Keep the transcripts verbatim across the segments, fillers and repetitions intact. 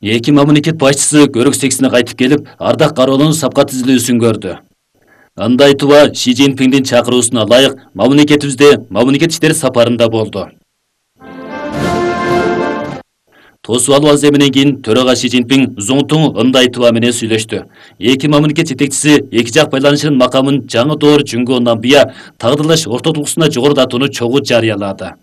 Эки мамлекет башчысы көрөк сексине кайтып келип, ардак кароолунун сапка түзүлүүсүн көрдү. Андай туба Ши Цзиньпиндин чакыруусуна ылайык мамлекетибизде мамлекет иштери сапарында болду. Тосуп алуу аземинен кийин төрага Ши Цзиньпин Зуңтуң Ындай туба менен сүйлөштү. Эки мамлекет жетекчиси эки жак байланышынын макамын жаңы доор Жүнгө Намбия тагдырлаш ортодулуксуна жогорулатууну чогуу жарыялады.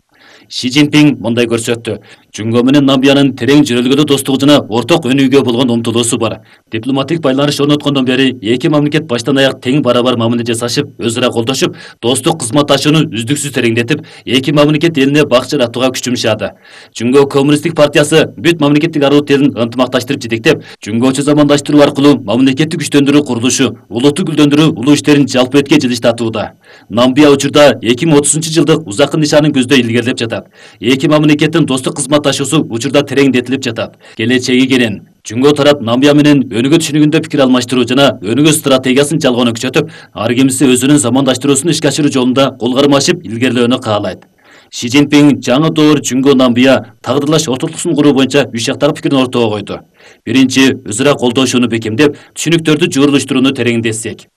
Ши Цзиньпин мындай көрсөттү. Жүнгө менен Намбиянын терең жөнөлгөлүү достугу жана орток өнүүгө болгон умтулуусу бар. Дипломатик байланыш орноткондон бери эки мамлекет баштан аяк тең барабар мамиле жасашып, өзү ара колдошуп, достук кызматташууну үздүксүз тереңдетип, эки мамлекет элине бак жаратууга күч жумшады. Жүнгө Коммунисттик партиясы бүт мамлекеттик аралык элин ынтымакташтырып жетектеп, Жүнгөчө замандаштыруу аркылуу мамлекеттик күчтөндүрүү курулушу, улутту гүлдөндүрүү улуу иштерин жалпы этке жылыштатууда. Намбия учурда эки миң отузунчу жылдык узаккы нишанын көздөй илгерилеп жатат. Эки мамлекеттин достук кызматташуусу учурда тереңдетилип жатат. Келечеги кенен. Жүнгө тарап Намбия менен өнүгүү түшүнүгүндө пикир алмаштыруу жана өнүгүү стратегиясын жалгоону күчөтүп, ар кимиси өзүнүн замандаштыруусун ишке ашыруу жолунда кол кармашып илгерилөөнү каалайт. Ши Цзиньпин жаңы доор Жүнгө Намбия тагдырлаш ортодулуксун куруу боюнча үч жактагы пикирин ортого койду. Биринчи, өзара колдошууну бекемдеп, түшүнүктөрдү жуурулуштурууну тереңдетсек.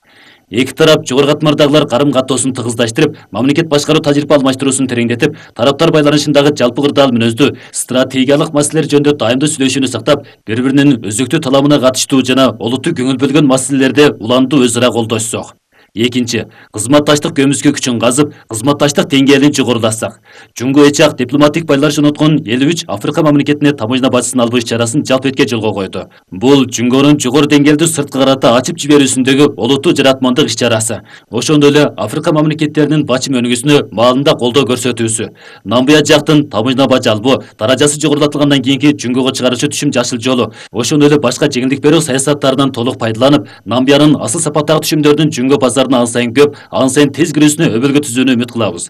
Эки тарап жогору катмардагылар карым-каттоосун тыгыздаштырып, мамлекет башкаруу тажрыйба алмаштыруусун тереңдетип, тараптар байланышындагы жалпы кырдаал мүнөздүү, стратегиялык маселелер жөнүндө дайымдуу сүйлөшүүнү сактап, бири-биринин өзөктүү таламына катыштуу жана олуттуу көңүл бөлгөн маселелерде уланду өзара колдошсок. Экинчи, кызматташтык көмүскө күчүн казып, кызматташтык деңгээлин жогорулатсак. Жүнгө эч жак дипломатик байланыш орноткон элүү үч Африка мамлекетине таможня бажысын албоо иш-чарасын жалпы этке жолго койду. Бул Жүнгөнүн жогору деңгээлдүү сырткы карата ачып жиберүүсүндөгү олуттуу жаратмандык иш-чарасы. Ошондой эле Африка мамлекеттеринин бачым өнүгүүсүнө маалында колдоо көрсөтүүсү. Намбия жактын таможня бажы албоо даражасы жогорулатылгандан кийинки Жүнгөгө чыгаруучу түшүм жашыл жолу, ошондой эле башка жеңилдик берүү саясаттарынан толук пайдаланып, Намбиянын асыл сапаттагы түшүмдөрдүн Жүнгө базар ан сайын көп, ан сайын тез кирүүсүнө өбөлгө түзүүнү үмүт кылабыз.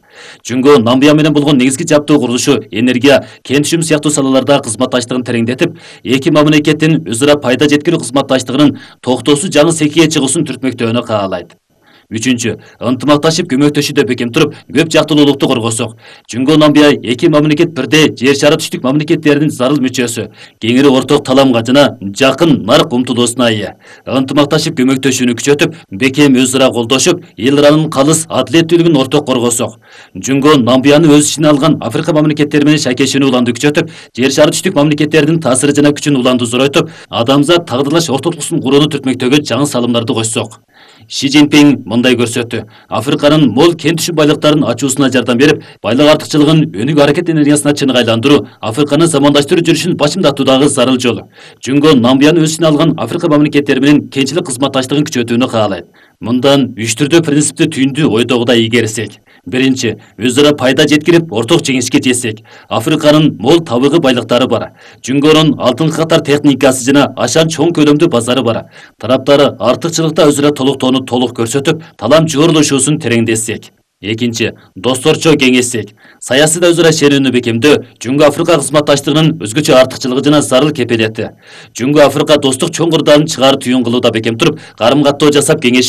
Жүнгө Намбия менен болгон негизги жаптуу курулушу, энергия, кен түшүм сыяктуу салаларда кызматташтыгын тереңдетип, эки мамлекеттин өзара пайда жеткирүү кызматташтыгынын токтоосуз жаңы секиге чыгуусун түртмөктөөнү каалайт. Үчүнчү, ынтымакташып көмөктөшүүдө бекем туруп, көп жактуулукту коргосок. Жүнгө Намбия эки мамлекет бирдей жер шары түштүк мамлекеттеринин зарыл мүчөсү, кеңири орток таламга жана жакын нарк умтулуусуна ээ. Ынтымакташып көмөктөшүүнү күчөтүп, бекем өзара колдошуп, эл ыранын калыс адилеттүүлүгүн орток коргосок. Жүнгө Намбияны өз ичине алган Африка мамлекеттери менен шайкешүүнү уланды күчөтүп, жер шары түштүк мамлекеттеринин таасиры жана күчүн уланды зоройтуп, адамзат тагдырлаш ортодулуксун курууну түртмөктөгө жаңы салымдарды койсок. Ши Цзиньпин мындай көрсөттү. Африканын мол кен түшүм байлыктарын ачуусуна жардам берип, байлык артыкчылыгын өнүгүү аракет энергиясына чыныгы айландыруу, Африканы замандаштыруу жүрүшүн бачымдатуудагы зарыл жол. Жүнгө Намбияны өз ичине алган Африка мамлекеттери менен кенчилик кызматташтыгын күчөтүүнү каалайт. Мындан үч түрдүү принципти түйүндүү ойдогудай ийгерсек. Биринчи, өзара пайда жеткирип, орток жеңишке жетсек. Африканын мол табыгы байлыктары бар. Жүнгөнүн алтынкы катар техникасы жана ашан чоң көлөмдүү базары бар. Тараптары артыкчылыкта өзара толуктоону толук көрсөтүп, талам жуурулушуусун тереңдетсек. Экинчи, досторчо кеңешсек. Саясийда өзара ишенүүнү бекемдөө Жүнгө Африка кызматташтыгынын өзгөчө артыкчылыгы жана зарыл кепелети. Жүнгө Африка достук чоң кырдаалын чыгар түйүн кылууда бекем туруп, карым-каттоо жасап кеңеш